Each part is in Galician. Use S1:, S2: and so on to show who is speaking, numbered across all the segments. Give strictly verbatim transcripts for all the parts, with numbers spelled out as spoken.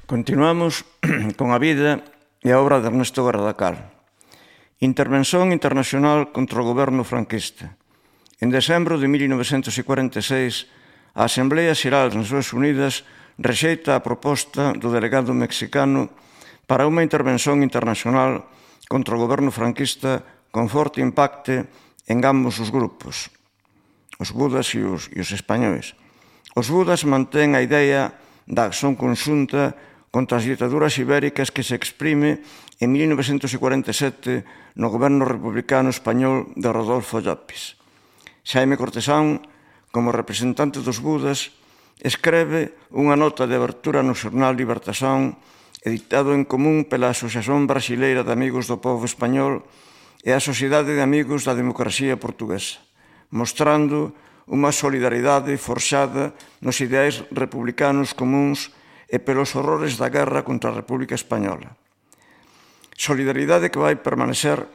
S1: Continuamos con a vida e a obra de Ernesto Gardacal. Intervención internacional contra o goberno franquista. En decembro de mil novecentos cuarenta e seis, a Asamblea Xeral das Nacións Unidas rexeita a proposta do delegado mexicano para unha intervención internacional contra o goberno franquista con forte impacto en ambos os grupos, os budas e os, e os españois. Os budas mantén a idea da acción conxunta contra as dictaduras ibéricas que se exprime en mil novecentos cuarenta e sete no goberno republicano español de Rodolfo Llopis. Xaime Cortesán, como representante dos budas, escreve unha nota de abertura no xornal Libertación, editado en común pela Asociación Brasileira de Amigos do Povo Español e a Sociedade de Amigos da Democracia Portuguesa, mostrando unha solidaridade forxada nos ideais republicanos comuns e pelos horrores da guerra contra a República Española. Solidaridade que vai permanecer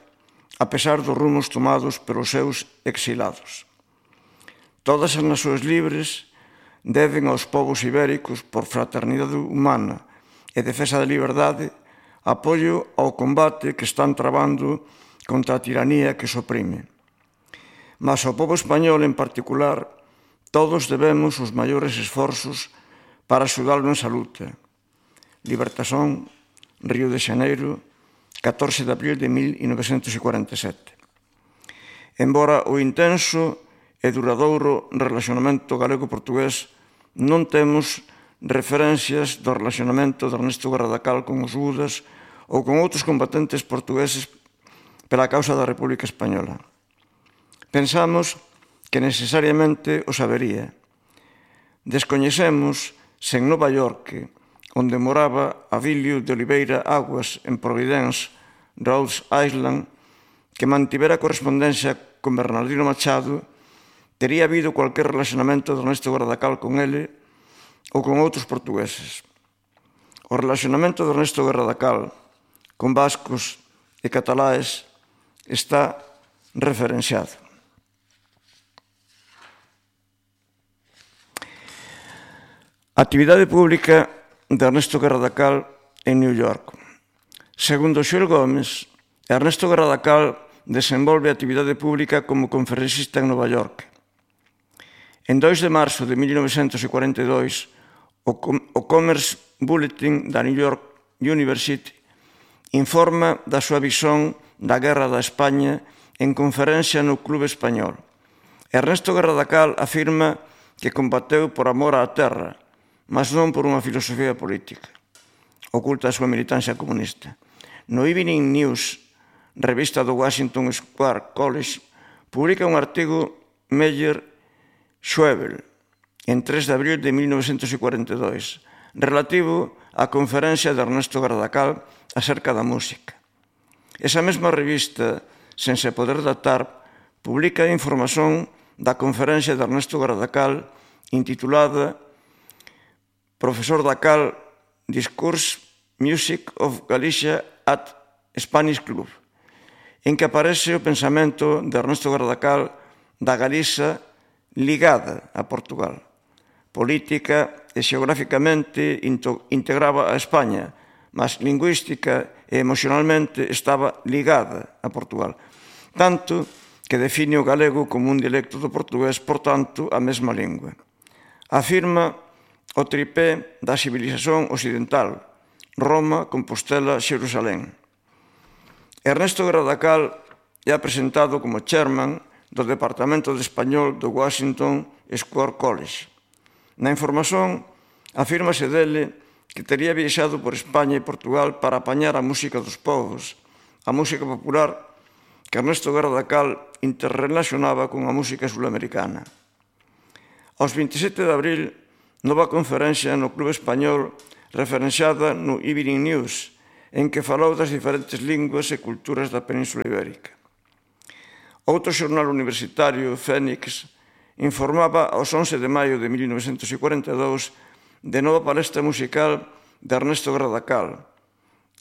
S1: a pesar dos rumos tomados pelos seus exilados. Todas as nacións libres deben aos povos ibéricos, por fraternidade humana e defensa da liberdade, apoio ao combate que están trabando contra a tiranía que os oprime. Mas ao povo español en particular, todos debemos os maiores esforzos para axudarlo nesa luta. Libertación, Río de Xaneiro, catorce de abril de mil novecentos cuarenta e sete. Embora o intenso e duradouro relacionamento galego-portugués, non temos referencias do relacionamento de Ernesto Gardacal con os budas ou con outros combatentes portugueses pela causa da República Española. Pensamos que necesariamente o sabería. Descoñecemos se en Nova York, onde moraba Avilio de Oliveira Aguas, en Providence, Rhode Island, que mantivera correspondencia con Bernardino Machado, tería habido cualquier relacionamento de Ernesto Gardacal con ele ou con outros portugueses. O relacionamento de Ernesto Gardacal con vascos e cataláes está referenciado. A actividade pública de Ernesto Gardacal en New York. Segundo Xoel Gómez, Ernesto Gardacal desenvolve a actividade pública como conferencista en Nova York. En dois de marzo de mil novecentos cuarenta e dois, o Commerce Bulletin da New York University informa da súa visión da Guerra da España en conferencia no Club Español. Ernesto Gardacal afirma que combateu por amor á terra, mas non por unha filosofía política. Oculta a súa militancia comunista. No Evening News, revista do Washington Square College, publica un artigo Meyer Schwebel, en tres de abril de mil novecentos cuarenta e dois, relativo á conferencia de Ernesto Gardacal acerca da música. Esa mesma revista, sen se poder datar, publica a información da conferencia de Ernesto Gardacal intitulada Profesor Dacal, Discourse Music of Galicia at Spanish Club, en que aparece o pensamento de Ernesto Gardacal da Galiza ligada a Portugal. Política e xeográficamente integraba a España, mas lingüística e emocionalmente estaba ligada a Portugal. Tanto que define o galego como un dialecto do portugués, por tanto, a mesma lingua. Afirma o tripé da civilización occidental, Roma, Compostela, Xerusalén. Ernesto Gardacal é presentado como chairman do Departamento de Español do Washington Square College. Na información, afírmase dele que tería viaxado por España e Portugal para apañar a música dos povos, a música popular que Ernesto Gardacal interrelacionaba con a música sulamericana. Aos veintisiete de abril, nova conferencia no Club Español referenciada no Evening News, en que falou das diferentes linguas e culturas da Península Ibérica. Outro xornal universitario, Fénix, informaba aos once de maio de mil novecentos cuarenta e dous de nova palestra musical de Ernesto Gardacal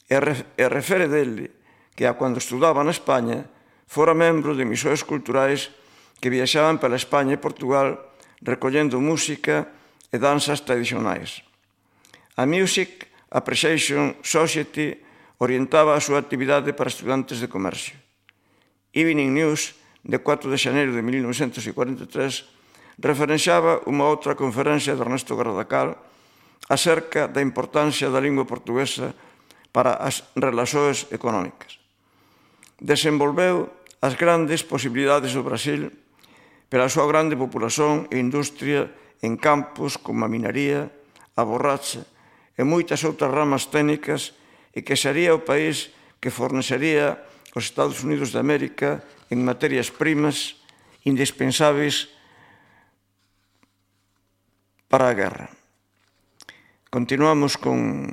S1: e refere dele que, a cando estudaba na España, fora membro de emissores culturais que viaxaban pela España e Portugal recollendo música e danzas tradicionais. A music Appreciation Society orientaba a súa actividade para estudantes de comercio. Evening News, de cuatro de xaneiro de mil novecentos cuarenta e tres, referenciaba unha outra conferencia de Ernesto Gardacal acerca da importancia da lingua portuguesa para as relacións económicas. Desenvolveu as grandes posibilidades do Brasil pela súa grande populación e industria en campos como a minería, a borracha e moitas outras ramas técnicas, e que sería o país que fornecería aos Estados Unidos de América en materias primas indispensáveis para a guerra. Continuamos con,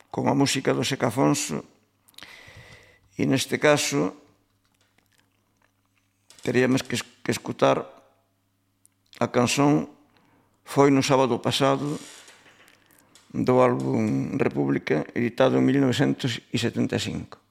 S1: con a música do Seca Afonso, e neste caso teríamos que, que escutar a canción Foi no sábado pasado, do álbum República, editado en mil novecentos setenta e cinco.